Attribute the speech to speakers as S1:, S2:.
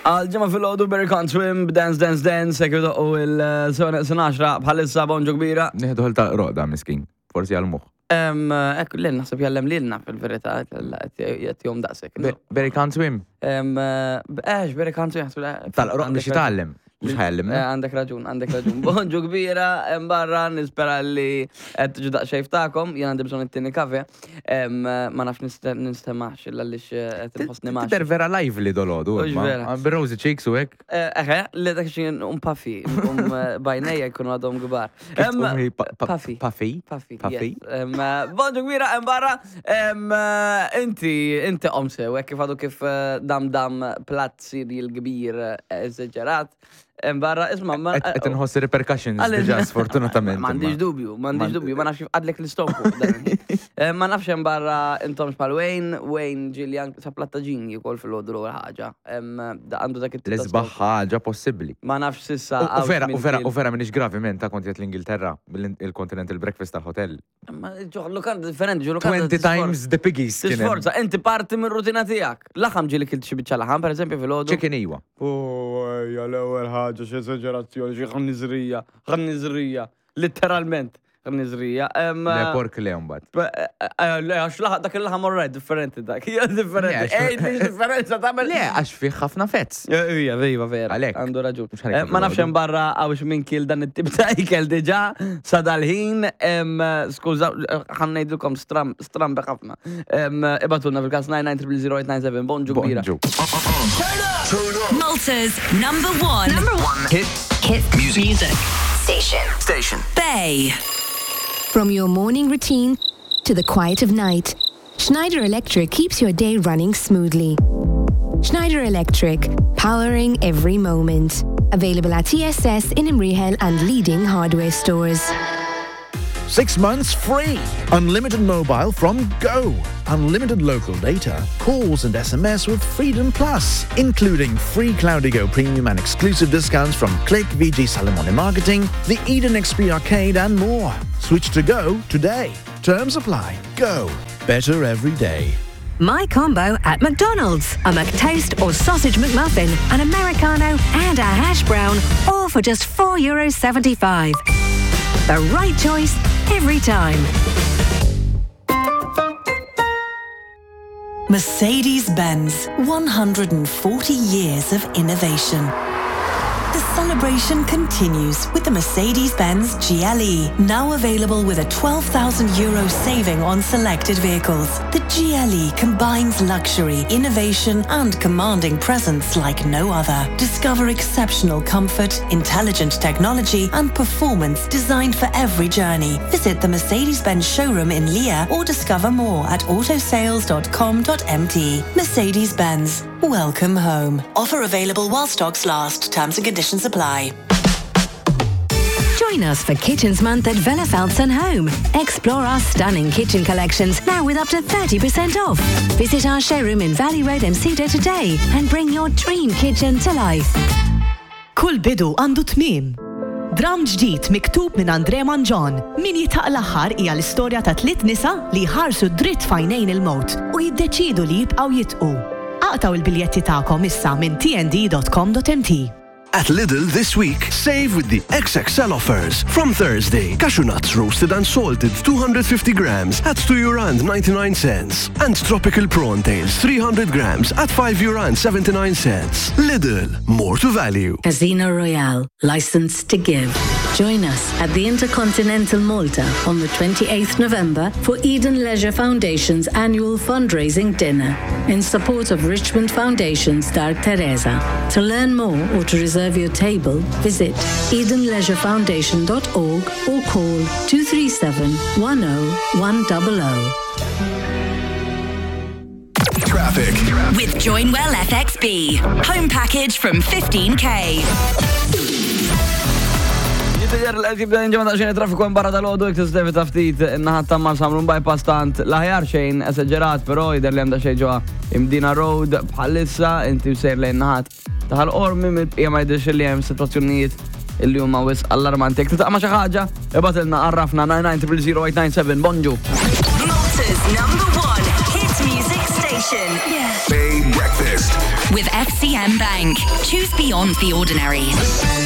S1: Għal ġimgħa filgħodu Barry Can't Swim, Dance Dance Dance, hekk idoqqu il-sena 10 bħalissa bonġu kbira.
S2: Nieħdu ħil ta' roqda miskin, forsi għal moħħ.
S1: Ekk, l naħseb jallem lilna fil-verità, qed jom daqshekk.
S2: Barry Can't Swim.
S1: Eħx, Barry Can't Swim.
S2: Tal-roq biex jitgħallem. Mhux ħajjallimna.
S1: Eh, għandek raġun, għandek raġun. Bonġu kbira, hemm barra, nispera li qed tiġu daqsxejn ftakom, jien għandi bżonn it-tieni kafe. Ma nafx nistemax illa għaliex eh, qed inħossni max.
S2: Tidher vera lively dolodu.
S1: Mhux vera.
S2: Bir-rosy cheeks u hekk.
S1: Eh, eħe, li dak xi um puffy, um bajnejja jkunu għadhom kbar.
S2: Puffy. Puffy.
S1: Puffy. Puffy. Bonġu kbira, hemm barra. Inti, inti qom sew, hekk kif għadu kif dam dam platt cereal kbir eżaġerat. Barra, isma, ma.
S2: Qed inħoss repercussions diġà sfortunatament.
S1: M'għandix dubju, m'għandix dubju, ma nafx kif għadlek l-istonku. Eh, ma nafx hemm barra intom bħal Wayne, Wayne ġieli anke sa plattaġin jikol fil-ħodu l-ewwel ħaġa. Għandu dak it
S2: L-isbaħ ħaġa possibbli.
S1: Ma nafx sissa.
S2: U vera, u vera, u vera minix gravi men ta' kont l-Ingilterra, il-Continental Breakfast tal-hotel.
S1: Ma ġo lukanda differenti, ġo lukanda.
S2: 20 times the piggies.
S1: Tisforza, inti parti minn rutina tiegħek. Laħam ġieli kilt xi biċċa laħam, pereżempju fil-ħodu.
S2: Chicken iwa.
S1: Oh, ejja, l-ewwel ħaġa xi esaġerazzjoni, xi ħniżrija, ħniżrija, litteralment ħniżrija.
S2: Le pork le mbagħad.
S1: Eh, eh, le, għax laħam dak il-laħam all right, differenti dak. Hija differenti. Ej, differenza tagħmel.
S2: Le, għax fih ħafna fezz.
S1: Ija, iva, vera.
S2: Għalhekk.
S1: Għandu raġun. Eh, ma nafx hemm barra għawx minn kil dan it-tip ta' ikel diġà sa dal-ħin, skuża, ħa ngħidilkom stram, stram ħafna. Ibatulna fil-każ 9900897, bonġu kbira.
S2: Bonġu.
S3: Malta's number one.
S4: Number one.
S5: Hit.
S4: Hit
S5: music.
S4: Music. Station.
S5: Station.
S3: Bay.
S6: From your morning routine to the quiet of night, Schneider Electric keeps your day running smoothly. Schneider Electric, powering every moment. Available at TSS in Imrihel and leading hardware stores.
S7: 6 months free. Unlimited mobile from Go. Unlimited local data, calls and SMS with Freedom Plus, including free Cloudigo Premium and exclusive discounts from Click, VG Salamone Marketing, the Eden XP Arcade and more. Switch to Go today. Terms apply. Go. Better every day.
S3: My combo at McDonald's. A McToast or sausage McMuffin, an Americano and a hash brown, all for just €4.75. The right choice every time.
S8: Mercedes-Benz, 140 years of innovation. The celebration continues with the Mercedes-Benz GLE, now available with a 12,000 euro saving on selected vehicles. The GLE combines luxury, innovation and commanding presence like no other. Discover exceptional comfort, intelligent technology and performance designed for every journey. Visit the Mercedes-Benz showroom in Leah or discover more at autosales.com.mt. Mercedes-Benz, welcome home. Offer available while stocks last. Terms and conditions apply.
S3: Join us for Kitchens Month at Vella Falcon Home. Explore our stunning kitchen collections now with up to 30% off. Visit our showroom in Valley Road, Msida today and bring your dream kitchen to life.
S9: Kull bidu għandu tmiem. Dramm ġdid miktub minn André Mangion, Min Jitħaq l-Aħħar hija l-istorja ta' tliet nisa li jħarsu dritt f'għajnejn il-mewt u jiddeċiedu li jibqgħu jidqu. Aqtgħu l-biljetti tagħkom issa minn tnd.com.mt.
S10: At Lidl this week, save with the XXL offers. From Thursday, cashew nuts roasted and salted 250 grams at 2 euro and 99 cents. And tropical prawn tails 300 grams at 5 euro and 79 cents. Lidl, more to value.
S11: Casino Royale, license to give. Join us at the Intercontinental Malta on the 28th November for Eden Leisure Foundation's annual fundraising dinner in support of Richmond Foundation's Dark Teresa. To learn more or to reserve your table, visit edenleisurefoundation.org or call 237 10100.
S5: Traffic.
S3: With Joinwell FXB. Home package from 15k.
S1: Jidher li qed jibda jinġema daqsxejn traffiku hemm barra dal-għodu jekk tista' tevita ftit in-naħa ta' Marsamrun bypass tant l-aħjar xejn esaġerat, però jidher li hemm daqsxejn ġewwa Imdina Road bħalissa inti sejr lejn naħat ta' Ħal Qormi mill-bqija ma jidhirx li hemm sitwazzjonijiet illi huma wisq allarmanti. Jekk tiltaqa' ma' xi ħaġa, ibgħatilna għarrafna 99000897. Bonġu.
S3: Malta's number one hit music station.
S10: Bay Breakfast.
S4: With FCM Bank. Choose beyond the ordinary.